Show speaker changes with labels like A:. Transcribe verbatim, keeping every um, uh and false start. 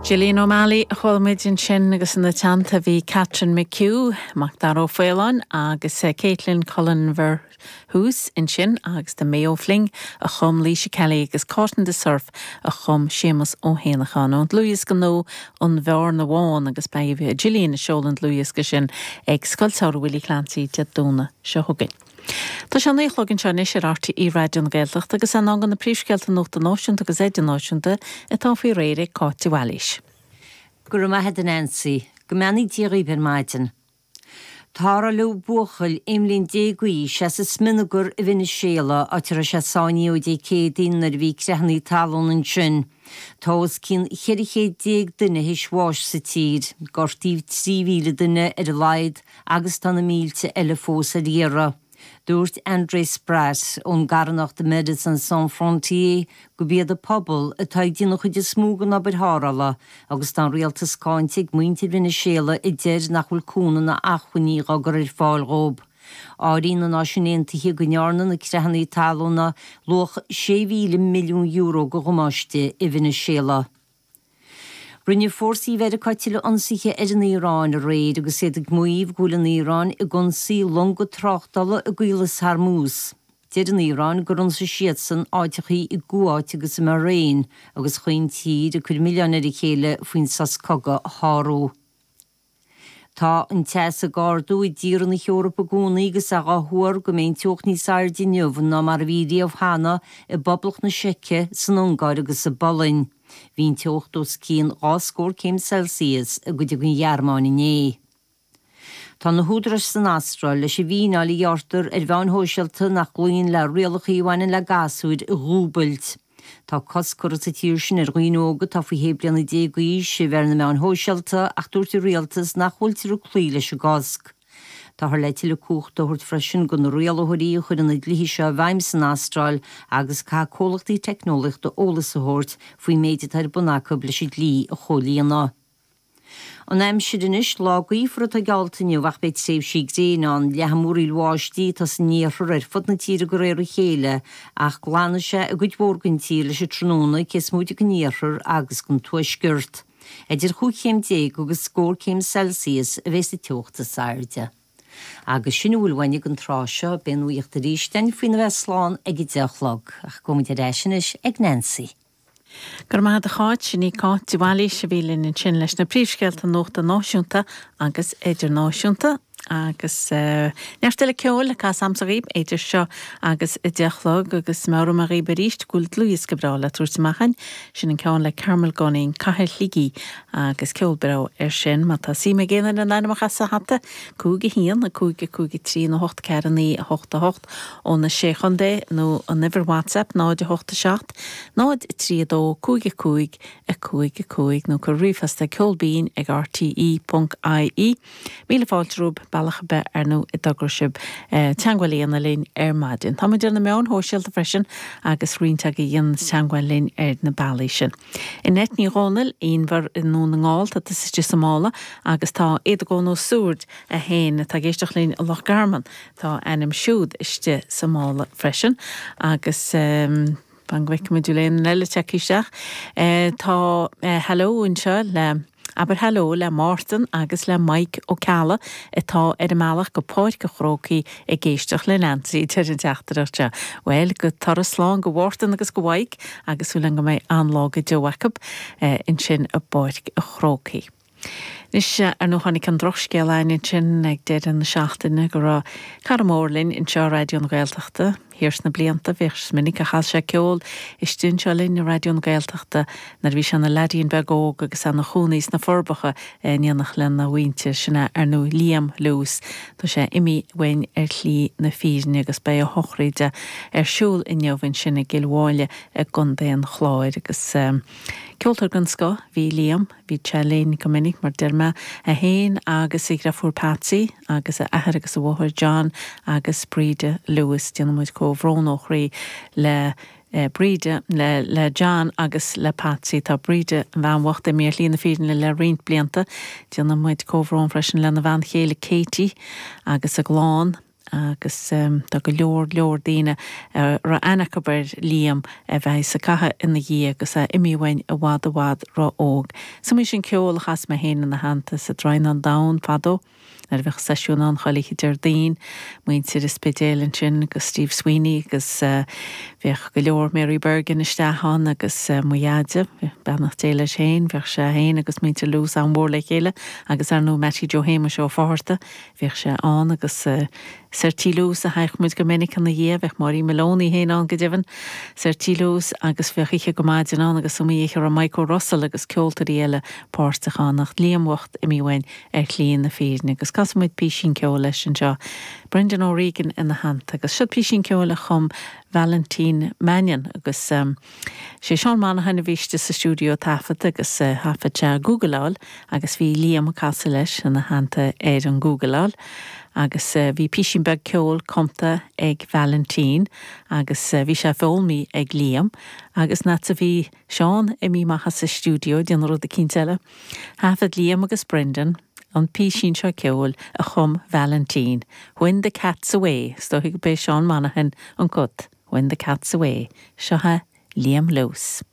A: Gillian O'Malley a chuala muid ansin agus ina teannta bhí Catherine McHugh, Macdara Ó Faoláin agus eh, Caitlin Cullen Verhoos ansin agus The Mayo Fling a chum Laoise Kelly agus Caught in the Surf a chum Séamus Ó hÉanacháin ón dlúthdhiosca nua An Bhearna Bhán agus beidh Gillian ag seoladh an dlúthdhiosca sin ag Scoil Samhraidh Willie Clancy Dé Domhnaigh seo chugainn. Tá sé naoi a chlog anseo anois ar RTÉ Raidió na Gaeltachta agus in am do na príomhscéalta nuachta náisiúnta agus idirnáisiúnta atá faoi réir ag Cáit de Bhailís.
B: Go raibh maith agat Nancy, go mbeannaí Dia dhaoibh ar maidin. Tarrtháladh buachaill aon bhliain déag d'aois as an smionagar i Veiniséala áit a raibh sé sáinnithe ó Dé Céadaoin nuair a bhí creathanna talún ansin. Tá os cionn ceithre chéad déag duine théis bháis sa tír, gortaíodh trí mhíle duine ar a laghad agus tá na mílte eile fós ar iarraidh. Dúirt Andrés Prat ón gcarthanacht Médecins Sans Frontières gurb iad an pobal atá ag déanamh an chuid is mó den obair tharrthála agus tá an rialtas cáinte ag muintir Veiniséala a deir nach bhfuil cúnamh ná acmhainní á gcur ar fáil dóibh. Áiríonn na Náisiúin Aontaithe go ndearna na creathanna talúna luach sé mhíle milliún euro de dhamáiste i Veiniséala. Rinne fórsaí Mheiriceá tuilleadh ionsaithe ar an Iaráin aréir agus iad ag maíomh go bhfuil an Iaráin ag ionsaí longa tráchtála i gCaolas Hormuz. Deir an Iaráin gur ionsaigh siadsan áiteachaí i gCuáit agus i mBahrain agus chaon tír ag cur milleáin ar a chéile faoin sos cogaidh a shárú. Tá an teas ag ardú i dtíortha na hEorpa i gcónaí agus é á thuar go mbeidh an teocht níos airde inniu ná mar a bhí riamh cheana i bPoblacht na Seice, san Ungáir agus sa bPolainn. Bhí an teocht os cionn dhá scór céim Celsius i gcuid den Ghearmáin inné. Tá na húdaráis san Astráil leis an bhfíneáil a ghearrtar ar mheáin shóisialta nach gcloíonn le rialacha a bhaineann le gasúir a dhúbailt. Tá cosc curtha sa tír sin ar dhaoine óga atá faoi shé bliana déag d'aois a bheith ar na meáin shóisialta ach dúirt an rialtas nach bhfuiltear ag cloí leis an gcosc. Táthar le tuilleadh cumhachta a thabhairt freisin do na rialaitheoirí a chuireann na dlíthe seo i bhfeidhm san Astráil agus caithfidh comhlachtaí teicneolaíochta eolas a thabhairt faoin méid atá ar bun acu leis an dlí a chomhlíonadh. An aimsir anois lá gaofar atá geallta inniu ach beidh tréimhsí gréine ann leathfaidh múraíl bháistí atá san iarthar ar fud na tíre de réir a chéile ach glanfaidh sé i gcuid mhór den tír leis an tráthnóna cé is móide den iarthar agus den tuaisceart. Idir chúig chéim déag agus scór céim Celsius a bheidh sa teocht is airde. Agus sin a bhfuil uainn ag an tráth seo beidh an nuacht arís faoina bheith slán ag a deich a chlog ach gabhfaidh muid ar ais anois ag Nancy.
A: Gur maith a cháit sin í Cáit de Bhailís a bhí linn ansin leis na príomhscéalta nuachta náisiúnta agus idirnáisiúnta agus uh, neart eile ceoil le casadh agaibh idir seo agus a deich a chlog agus mar a dhaoibh arís go bhfuil dlúthdhiosca breá le tabhairt amach againn sin an ceann le Carmel Gunning Cathair Shligigh agus ceol breá ar sin má tá suim ag éinne an ainm a chur sa hata cúig a haon a cúig a cúig a trí nó hocht ceathair naoi a hocht a hocht ó na sé chontae nó an uimhir WhatsApp náid a hocht a seacht náid trí dó cúig a cúig a cúig a cúig nó cuir ríomhphost ceolbinn ag RTE.ie. Míle fáilte romhaibh bealach ar bith ar nó i dtogra sib teagmháil a dhéanamh linn ar maidin. Tá muid ar na meáin shóisialta freisin agus roinnt agaibh ag déanamh teagmháil linn ar na bealaí sin. Annette Ní Dhomhnaill Inbhear i nDún na nGall tá istigh sa mála agus tá Éadagón Ó Súird a haon atá ag éisteacht linn i Loch Garman tá a ainm siúd istigh sa mála freisin agus um, Fan go bhfeicfimid leon eile tagtha isteach. E, tá e, hello anseo le Aber hello le Martin agus le Mike Ó Ceallaigh atá ar an mbealach go Páirc an Chrócaigh ag éisteacht le Nancy ar an teachtaireacht seo. Well go turas slán go Mhártan agus go Mike agus súil go mbeidh an-lá go deo acu ansin i bPáirc an Chrócaigh. Anois ar nó tháinig an drochscéal ansin ag deireadh na seachtaine go raibh cara mór linn anseo Raidió na Gaeltachta thiar sna blianta bhíodh minic a chas sé ceol istigh anseo linn i Raidió na Gaeltachta nuair a bhí sé ina leaidín beag óg agus ina chónaí sna Forbacha in éineacht lena mhuintir sin ar nó Liam Lewis Tá sé imithe uainn ar shlí na fírinne agus beidh a shochraid ar siúl inniu ansin i gCill Mháille i gContae an Chláir agus um, ceoltóir den scoth bhí Liam, bhí sé linn go minic mar deir mé é féin agus a dheirfiúr Patsy agus a athair agus a mháthair John agus Breda Lewis déanaimid comhbhrón ó chroí le eh, Breda le, le John agus le Patsy tá Breda an bhean bhocht imithe ar shlí na fírinne le roinnt blianta déanaimid comhbhrón freisin lena bhean chéile Katie agus a gclann Agus tá go leor leor daoine a raibh aithne acu ar Liam a bheas ag caitheamh ina dhiaidh agus é imithe uainn i bhfad i bhfad ró-óg. Is iomaí sin ceol a chas mé féin ina theannta sa Draighneán Donn fadó nuair a bheadh seisiún ann chuile oíche Déardaoin, muintir an Spidéil ansin agus Steve Sweeney agus bheadh go leor Mary Bergin isteach ann agus mo dheaide, beannacht Dé leis féin, bheadh sé féin agus muintir Lewis an-mhór le chéile agus ar ndóigh Mattie Joe Shéamuis Ó Fátharta, bhíodh sé ann agus soir Tí Lewis a thagadh muid go minic ina dhiaidh, bheadh Máirín Maloney féin ann go deimhin, soir Tí Lewis agus bheadh oíche go maidin ann agus is iomaí oíche a raibh Mike O'Russell agus ceoltóirí eile páirteach ann ach Liam bocht imithe uainn ar shlí na fírinne agus casfaidh muid písín ceoil leis anseo, Brendan O'Regan ina theannta agus seo písín ceoil a chum Valentine Mannion agus sé Seán Monaghan a bhí istigh sa stiúideo ag taifead agus thaifead sé gúgaileáil agus bhí Liam ag casadh leis ina theannta ar an gúgaileáil agus bhí písín beag ceoil cumtha ag Valentine agus bhí sé foghlamtha ag Liam agus nuair a bhí Seán imithe amach as an stiúideo ag déanamh rud eicínt eile. Thaifead Liam agus Brendan an písín seo ceoil a chum Valentine, When the Cat's Away, is dóigh gurb é Seán Monaghan an cat, When the Cat's Away, seo é Liam Lewis.